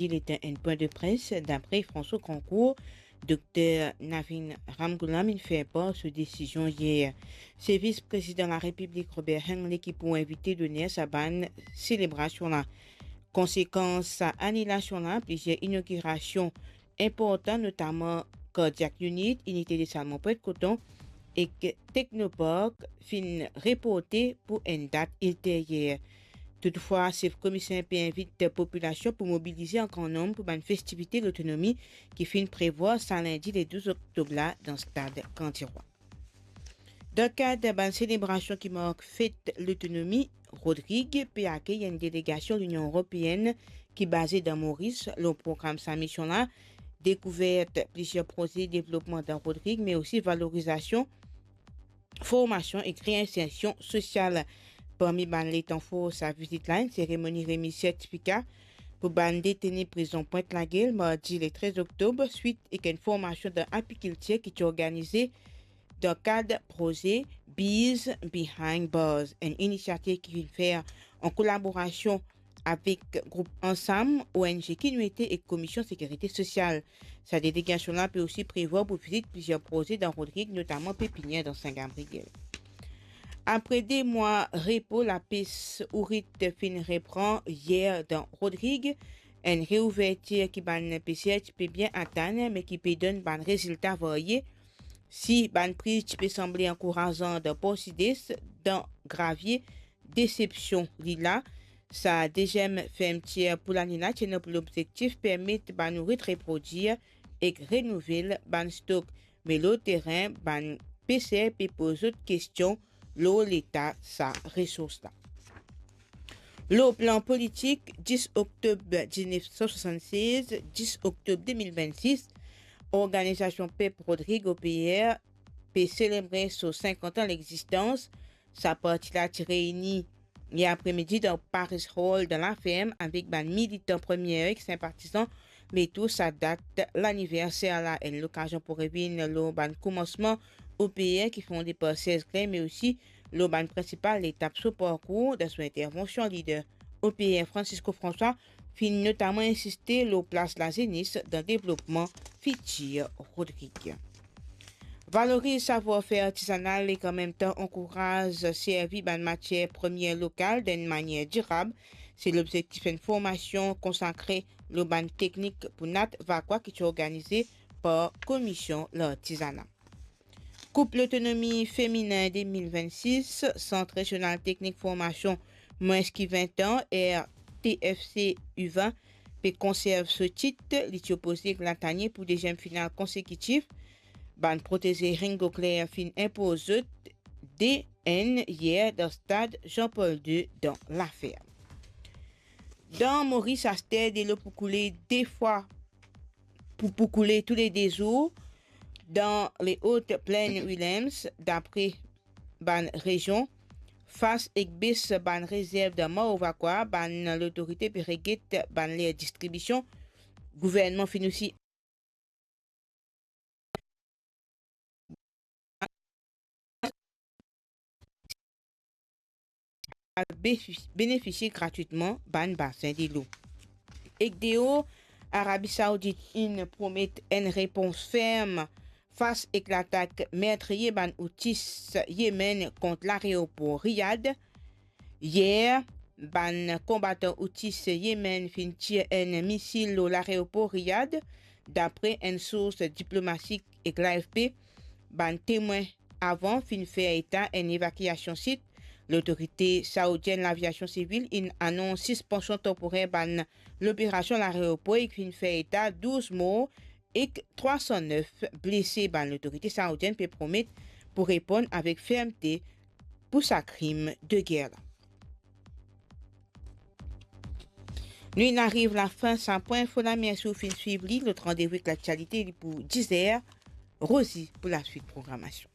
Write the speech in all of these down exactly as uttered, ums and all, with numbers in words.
Li ti enn pwin de pres, dapre François Cancour, Dokter Navin Ramgoolam inn fer par so desizion yer. Se Vis Prezidan Larepiblik Robert Hengley ki pou invite doner sa bann selebrasion la. Konsekans sa anilasion la, plizier inogirasion inportan, notaman Cardiac Unit, Inite de Salmon Pointe Coton ek Technopark finn reporte pou enn dat ilteryer. Toutfwa, sef komiser pe invit popilasion pou mobilize an gran nonb pou bann festivite Lotonomi ki finn prevwar sa lindi le douz oktob la dan stad Kandirwa. Dan kad bann selebrasion ki mark fet Lotonomi, Rodrig pe akey enn delegasion Linion Eropeenn ki baze dan Moris. Lor program sa mision la, dekouver plizier proze devlopman dan Rodrig, me osi valorizasion, formasion ek reinsersion sosial. Parmi bann letan for sa vizit la, enn seremoni remiz sertifika pou bann deteni prizon Pointe Lagel, mardi le trez oktob, swit ek enn formasion dan apikiltir ki ti organize dan kad proze Bees Behind Bars, enn inisiativ ki finn fer an kolaborasion avek group Ansam, O N G Kinuete ek Komisyon Sekirite Sosyal. Sa delegasion la pe osi prevwar pou vizit plizier proze dan Rodrig, notaman pepinier dan Sin Gabriel. Apre de mwa repo, lapes ourit finn repran yer dan Rodrig. Enn reouvertir ki bann peser ti pe bien atann, me ki pe donn bann rezilta varye. Si bann priz ti pe sanble ankourazan dan Por Sides, dan Gravie, desepsion li la. Sa deziem fermtir pou lane la ti ena pou lobzektif permet bann ourit reprodwir ek renouvel bann stok. Me lor terin, bann peser pe poz zot kestion lor leta sa resours la. Lor plan politik, dis oktob diznef san swasann-sez, dis oktob de mil vennsis, Organizasion Pep Rodrig, O P R, pe selebre so sinkant an legzistans. Sa parti la ti reyini yer apremidi dan Paris Hall dan Laferm avek bann militan Premie ek sinpatizan. Me tou sa dat laniverser la, enn lokazion pou revinn lor bann koumansman O P R ki fonde par Serge Klein, me osi lor bann prinsipal letap so parkour. Dan so intervansion, lider O P R Francisco François finn notaman insiste lor plas lazenes dan devlopman fitir Rodrig. Valoriz savwar-fer artizanal ek anmemtan ankouraz servi bann matier premie lokal dan enn manier dirab, se lobzektif enn formasion konsakre lor bann teknik pou nat vakwa ki ti organize par Komisyon Lartizana. Koup Lotonomi Feminin de mil vennsis, Sant Rezional Teknik Formasion Mwins ki Vin An, R T F C U vin, pe konserv so tit. Li ti opoze ek Latanie pou deziem final konsekitif. Bann proteze Ringo Claire finn inpoz zot de enn yer dan stad Jean-Paul de dan Laferm. Dan Moris, aster delo pou koule de fwa, pou, pou koule toule de zour dan le Haute Plaine Willem's, dapre bann rezion. Fas ek bes bann rezerv dan Maore vakwa, bann lotorite pe reget bann ler distribision. Gouvernman finn osi al be-, benefisie gratwitman bann basin delo. Ek deor, Arabi Saoudit inn promet enn repons ferm fas ek latak mertriye bann Houthis Yemen kont lareopor Riyad. Yer, bann konbatan Houthis Yemen finn tir enn misil lor lareopor Riyad, dapre enn sours diplomatik ek l'A F P. Bann temwin avan finn fer eta enn evakiasion sit. Lotorite saoudienn laviasion sivil inn anons sispansion tanporer bann loperasion lareopor ek finn fer eta douz mor ek trwa san nef blese. Bann lotorite saoudienn pe promet pou reponn avek fermte pou sa krim de ger la. Nou inn ariv lafin sa pwin info la. Mersi ou finn swiv li. Lot randevou ek laktialite, li pou diz er. Rosie pou laswit programasion.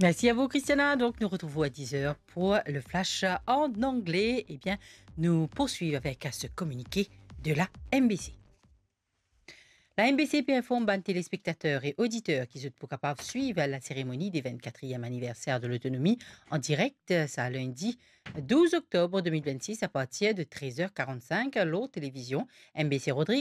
Merci à vous, Christiana. Donc, nous retrouvons à dix heures pour le flash en anglais. Eh bien, nous poursuivons avec ce communiqué de la M B C. La M B C pe inform bann telespektater e oditer ki zot pou kapav swiv la seremoni de vennkatriem aniverser de lotonomi an direk, sa lindi douz oktob de mil vennsis, a partir de trez er karannsink, lor televizion M B C Rodrigues.